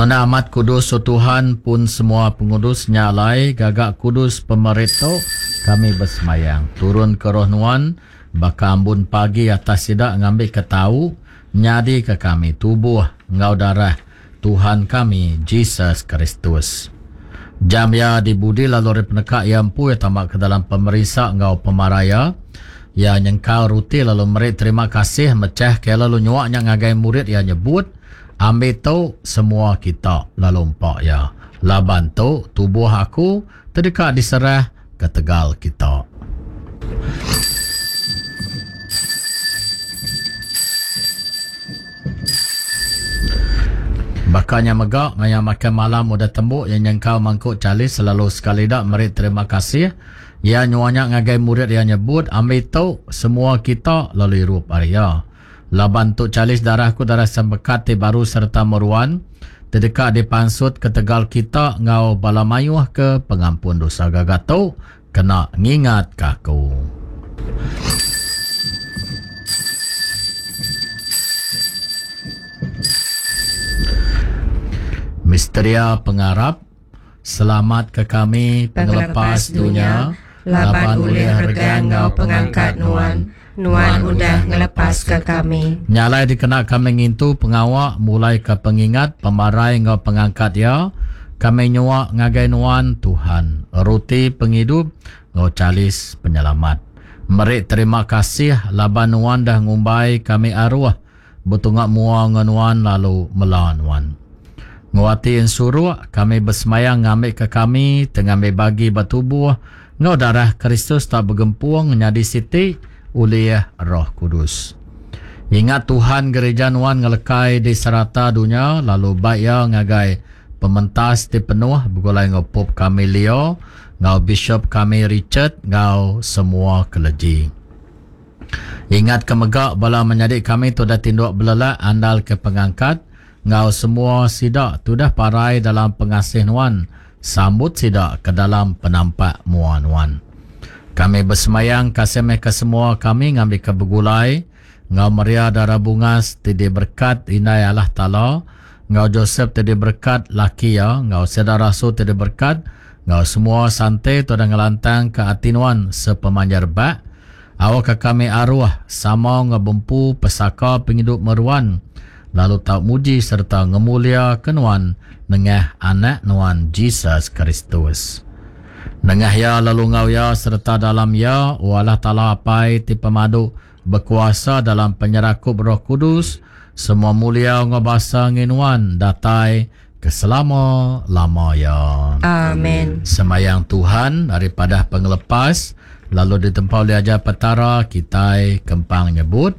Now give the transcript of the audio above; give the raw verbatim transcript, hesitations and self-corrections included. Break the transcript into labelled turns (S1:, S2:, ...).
S1: Nona amat kudus o Tuhan pun semua pengudus nya alai gaga kudus pemeri tu kami bersemayang. Turun ke roh nuan baka ambun pagi atas sida ngambi ke tau nyadi ke kami tubuh enggau darah Tuhan kami Jesus Kristus. Jam ia dibudi lalu ari peneka ia empu ia tambah ke dalam pemerinsa enggau pemaraya. Ia nyengkau ruti lalu meri terima kasih mecah ke lalu nyuaknya ngagai murid ia nyebut, ambil tu semua kita lalu empak ia. Laban tu tubuh aku terdeka diserah ke tegal kita. Bakanya megak maya makan malam udah tembuk yang nyengkau mangkuk calis selalu sekali dak meri terima kasih. Ia nyuanya ngagai murid ia nyebut, ambil tu semua kita lalu irup ari ia. Laban tu calis darahku darah sembekat ti baru serta meruan terdeka dipansut ke tegal kita ngau bala mayuh ke pengampun dosa gaga tu kena ngingat ke aku. Misteria pengarap, selamat ke kami pengelepas dunia,
S2: laban ulih regang ngau pengangkat nuan, nuan udah ngelepas ke kami.
S1: Nyalai dikena kami ngintu pengawak mulai ke pengingat pemarai ngau pengangkat ya, kami nyuak ngagai nuan Tuhan, roti penghidup ngau calis penyelamat. Meri terima kasih laban nuan dah ngumbai kami aruh, betungak mua ngau nuan lalu mela nuan. Nguati ensuruk kami bersemayang ngambil ke kami tengambil bagi bertubuh ngau darah Kristus tak bergempung nyadi siti oleh Roh Kudus. Ingat Tuhan gereja nuan ngelekai di serata dunia lalu baik ia ngagai pementas ti penuh begulai ngau Pop kami Leo, ngau Bishop kami Richard, ngau semua keleji. Ingat ke megak bala menyadik kami tu dah tinduk belelak andal ke pengangkat ngau semua sidak tu dah parai dalam pengasih nuan, sambut sidak ke dalam penampak mua nuan. Kami bersemayang kasih meh ke semua kami ngambil ke begulai ngau Maria darah bungas ti diberkat indai Allah Taala, ngau Joseph ti diberkat laki ya, ngau saudara rasul ti diberkat, ngau semua sante tu dah ngelantang ke ati nuan sepemanjai rebak. Awak ke kami aruh sama ngau bempu pesaka penghidup meruan, lalu tau muji serta ngemulia ke nuan nengah anak nuan Jesus Kristus. Nengah ya lalu ngau ya serta dalam ya, o Allah Taala Apai ti pemadu berkuasa dalam penyerakup Roh Kudus, semua mulia ngau basa nginuan datai ke selama-lama ya.
S2: Amin.
S1: Semayang Tuhan daripada pengelepas lalu ditempau oleh ajar petara kitai kempang nyebut,